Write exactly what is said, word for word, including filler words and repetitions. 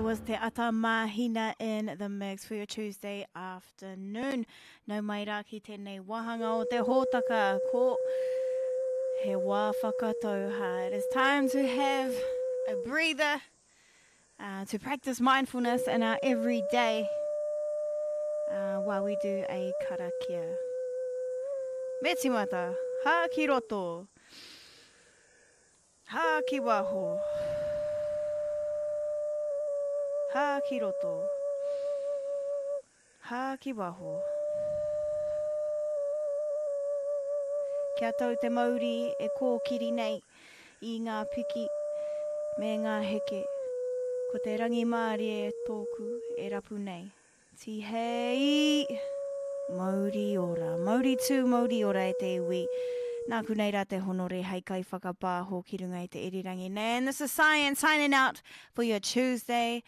That was Te Ata Mahina in the mix for your Tuesday afternoon. Nau mai rā ki tēnei wāhanga o te hōtaka ko he wā whakatauhā. It is time to have a breather, uh, to practice mindfulness in our everyday uh, while we do a karakia. Me timata, hā ki roto, hā ki waho. Hā ki roto. Hā ki waho. Kia tau te mauri e kōkiri nei i ngā piki me ngā heke. Ko te rangimārie tōku e rapu nei. Tihei! Mauri ora. Mauri tū, mauri ora e te iwi. Nāku nei rā te honore hei kai whakapāho ki runga i te irirangi nei. And this is Science signing out for your Tuesday